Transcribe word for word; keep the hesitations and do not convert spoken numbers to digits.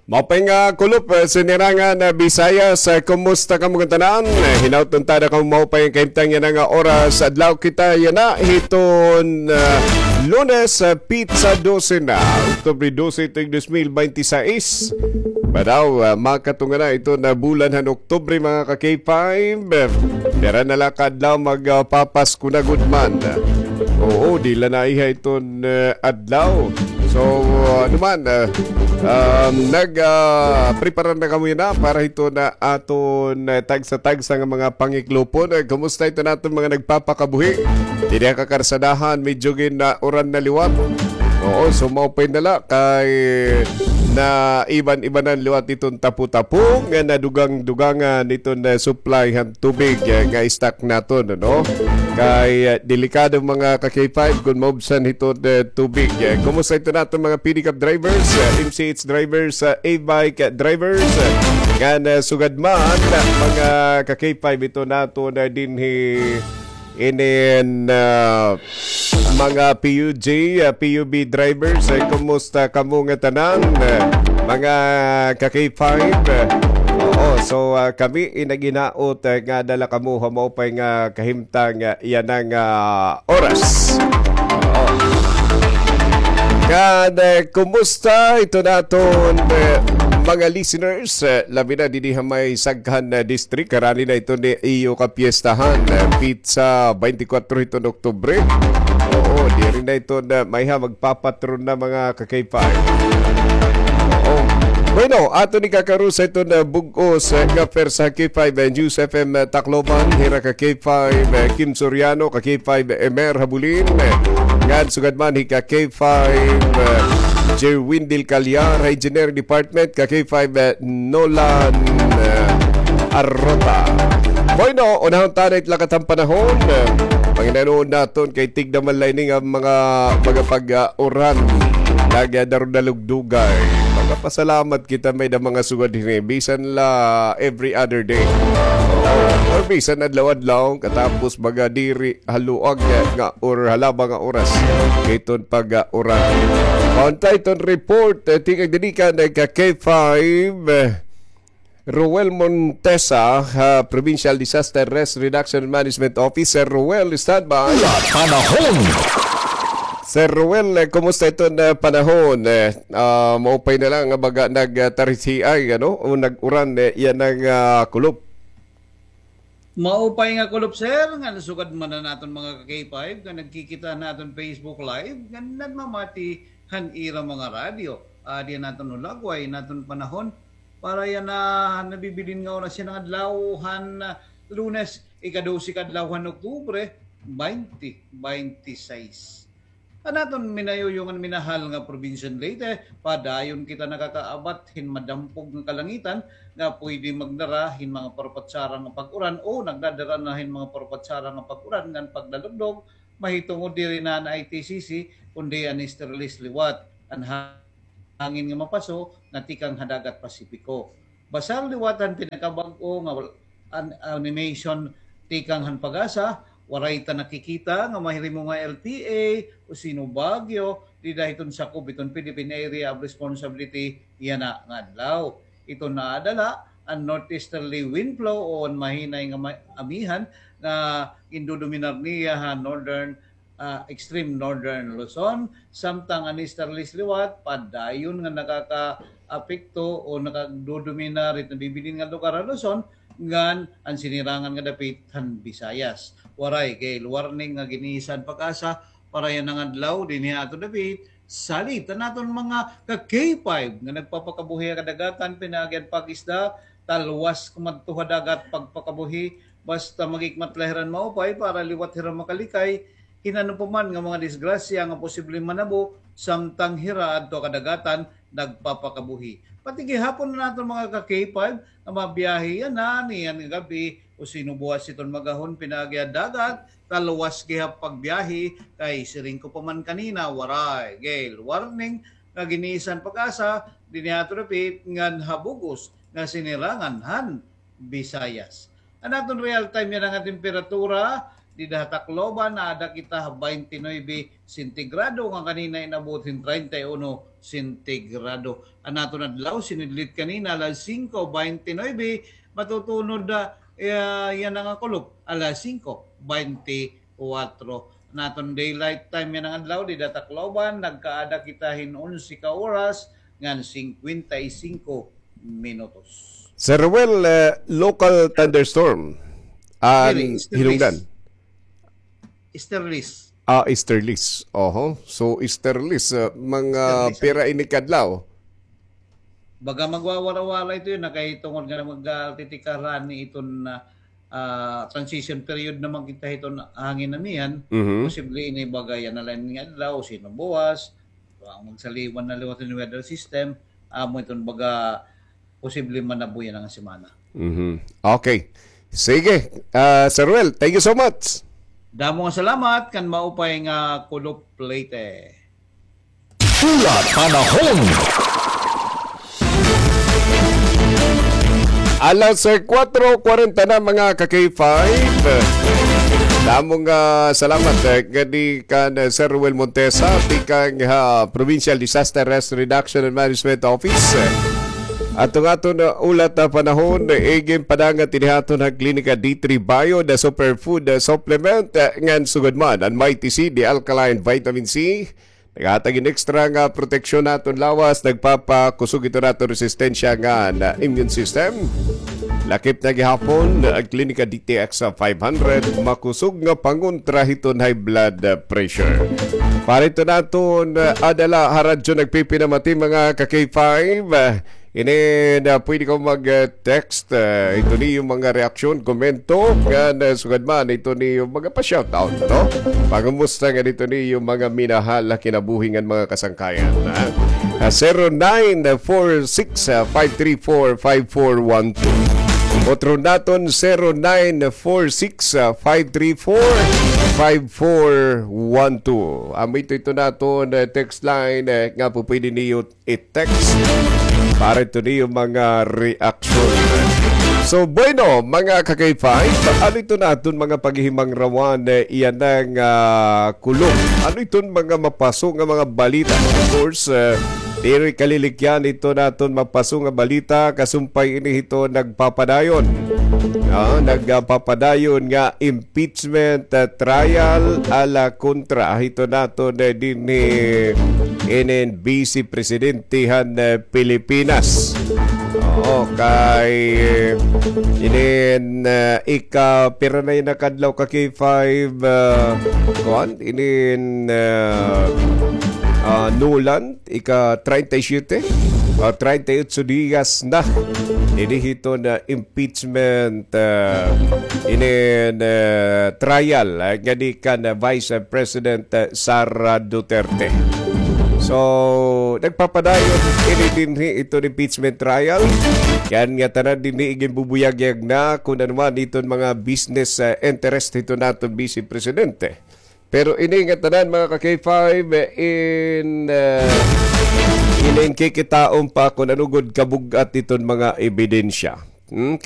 Maupay nga kulop, eh, Sinirangan, eh, Visayas, eh, kumusta kamo ngatanan? Eh, hinaut unta na kamo maupay nga kahimtang yana nga oras. Adlaw kita yana hiton, eh, Lunes, eh, petsa dose na, Oktubre dose, tuig dos mil bente sais. Padaw, eh, makatunga na iton bulan han Oktubre, mga ka-K five. Dara na la ka adlaw, magpapasko na gud man. Oo, diri la naiha iton, eh, adlaw. So, ano man, eh, um, nag, ah, prepara na kamo yana para hiton aton, eh, tagsa-tagsa nga mga pangiklopon. Eh, kumusta iton aton mga nagpapakabuhi? Didi ha kakarsadahan, medyo gin-uran na liwat. Oo, so maupay na la kay naiban-ibanan liwat iton tapo-tapo nga nadugang-dugangan iton, eh, supply han tubig, eh, nga stock naton, ano? Kay, eh, delikado, mga ka-K five, kon maubsan hiton, eh, tubig. Eh, kumusta iton aton mga pedicab drivers, eh, M C H drivers, eh, e-bike drivers, eh, ngan, eh, sugad man, mga ka-K five, iton aton, eh, dinhi inin, ah, mga P U G, ah, P U B drivers, eh, kumusta kamo ngatanan, eh, mga ka-K five? Eh, oo, so, ah, kami in naghinaot, eh, nga dara kamo ha maupay nga kahimtang, ah, yana nga oras. Oo. Ngan, eh, kumusta iton aton, eh, mga listeners? Eh, labi na didi ha may sagkan, eh, district, karani na iton iyo kapiyestahan, eh, petsa bente kwatro hiton Oktubre. Oo, diri na iton, eh, maiha magpapatron na, mga ka-K five. Oo. Bueno, aton ikakarusa iton, eh, bug-os, eh, nga pwersa ha K five, eh, News F M, eh, Tacloban, hira ka-K five, eh, Kim Soriano, ka-K five, eh, Emer Habulin, eh, ngan sugad man hi ka-K five, eh, Jerwin Del Callar, ha Engineering Department, ka-K five, eh, Nolan, eh, Arrota. Bueno, unahon ta na it lakat han panahon. Eh, panginanoon naton kay tigda man la ini nga mga, mga pag-uran. Nagdarudalugdugay. Magpasalamat kita may-ada mga sugad hini. Bisan la every other day. Or bisan adlaw-adlaw, katapos mga diri haluag nga or halaba nga oras. Kay iton pag-uran. Unta iton report, eh, tikang didi kan, eh, ka-K five, eh, Roel Montesa, ha Provincial Disaster Risk Reduction Management Office. Sir Roel, standby. Panahon. Sir Roel, eh, kumusta iton, eh, panahon? Eh, ah, maupay na la nga baga nagtarisiay, ano? O nag-uran, eh, yana nga, ah, kulop. Maupay nga kulop, sir, nga nasugad man an aton mga ka-K five nga nagkikita han aton Facebook Live nga nagmamati han ira mga radyo. Adi an aton hulagway, an aton panahon para yana nabibilin nga oras yana nga adlaw han, ah, Lunes, ika-dose ka adlaw han Oktubre, bente bente sais. An aton minayuyo ngan minahal nga probinsya han Leyte, padayon kita nakakaabat hin madampog nga kalangitan nga pwede magdara hin mga parpatsara nga pag-uran o nagdadara na hin mga parpatsara nga pag-uran ngan pagdalugdog, mahitungod diri na an I T C C, kundi an easterlies liwat, an hangin nga mapaso nga tikang ha dagat Pasipiko. Basar liwat an pinakabag-o nga wal-, an-, animation tikang han PAGASA, waray ta nakikita nga mahirimo nga L T A o sino Baguio dida hiton sakob hiton Philippine Area of Responsibility yana nga adlaw. Iton naadala an northeasterly wind flow o an mahinay nga ma-, amihan nga gindodominar niya ha northern ah, extreme northern Luzon, samtang an easterlies liwat, padayon nga nakakaapekto o nakadodominar hiton bibilin nga lugar ha Luzon, ngan an sinirangan nga dapit han Visayas. Waray gale warning nga gin-iisa han PAGASA para yana nga adlaw dinhi ha aton dapit, salit an aton mga ka-K five nga nagpapakabuhi ha kadagatan pinaagi han pag-isda, talwas kumadto ha dagat pagpakabuhi, basta maghikmat la hira hin maupay para liwat hira makalikay hin ano pa man nga mga disgrasya nga posibleng manabo samtang hira adto ha kadagatan nagpapakabuhi. Pati gihapon an aton mga ka-K five nga mabiyahe yana niyan nga gab-i o sino buwas hiton mag-ahon pinaagi ha dagat, talwas gihap pagbiyahe kay siring ko pa man kanina, waray gale warning nga gin-iisa han PAGASA dinhi ha aton dapit ngan ha bug-os nga sinirangan han Visayas. An aton real time yana nga temperatura, Dida ha Tacloban, naada kita ha twenty-nine sentigrado, nga kanina inabot hin treinta y uno sentigrado. An aton adlaw, sinidlit kanina, alas singko twenty-nine, matutunod, ah, eh, yana nga kulop, alas singko twenty-four. An aton daylight time yana nga adlaw, dida Tacloban, nagkaada kita hin onse ka oras, ngan singkwenta y singko minutos. Sir Ruel, eh, local thunderstorm. Diri, an easterlies. Hinungdan. Easterlies. Ah, easterlies. Oho. So, easterlies, eh, mga easterlies, pira ini ka adlaw? Baga magwawara-wara ito yana, kay tungod nga magtitikara ini iton, ah, ah, transition period naman kita hiton hangin amihan, mhm, posible ini baga yana la ini nga adlaw, sino buwas, so, an magsaliwan na liwat hin weather system, amo iton baga posible manabuyan nga semana. Mhm. Okay. Sige, ah, Sir Ruel, thank you so much. Damo nga salamat, kan maupay nga kulop Leyte. Ulat panahon. Alas, eh, kuwatro kwarenta na, mga ka-K five. Damo nga salamat, eh, ngadi kan, eh, Sir Ruel Montesa, tikang ha Provincial Disaster Risk Reduction and Management Office. Aton aton, uh, ulat ha panahon, eh, iginpadangat ini ha aton ha Klinika D three Bio, the superfood, uh, supplement, uh, ngan sugad man an Mighty C, the alkaline vitamin C. Naghatag hin extra nga proteksyon ha aton lawas, nagpapakusog hiton aton resistensya ngan immune system. Lakip na gihapon an Klinika D T X five hundred, makusog nga pangontra hiton high blood pressure. Para hiton aton, uh, adala ha radyo nagpipinamati, mga ka-K five, uh, ini na pwede kaw mag-text, uh, hiton iyo mga reaksyon, komento, ngan, uh, sugad man hiton iyo mga pa-shoutout, no? Pangumusta ngan hiton iyo mga minahal ha kinabuhi ngan mga kasangkayan, ha? Ah, zero nine four six, ah, five three four, five four one two. Otro naton, zero nine four six, ah, five three four, five four one two. Amo ito, ito naton, eh, text line, eh, nga po pwede niyo i-text para ito niyo mga reaction. So, bueno, mga ka-K five, ano ito naton mga paghihimangrawan, eh, iyan nga, ah, kulop? Ano iton mga mapaso nga mga balita? Of course, eh, diri kalilikyan ito naton mapaso nga balita, kasumpay ini hito nagpapadayon. Ah, nagpapadayon nga impeachment, ah, trial ala kontra hito naton, eh, dinhi inin Vice Presidente han, eh, Pilipinas. Oo, kay, eh, inin, eh, ika-, pira na ini ka adlaw, ka-K five, ah, kuan, inin, ah, ah, Nuland, ika-treinta y siete, ah, treinta y ocho dias na ini hiton, ah, impeachment, ah, inin, ah, trial, ah, ngadi kan, ah, Vice President, ah, Sara Duterte. So, nagpapadayon ini dinhi iton impeachment trial. Kan ngatanan dinhi iginbubuyagyag na kun ano man iton mga business, ah, interest hiton aton Vice Presidente. Pero ini ngatanan, mga ka-K five, eh, in, ah, inin kikitaon pa kun ano gud kabug-at iton mga ebidensya. Hmm,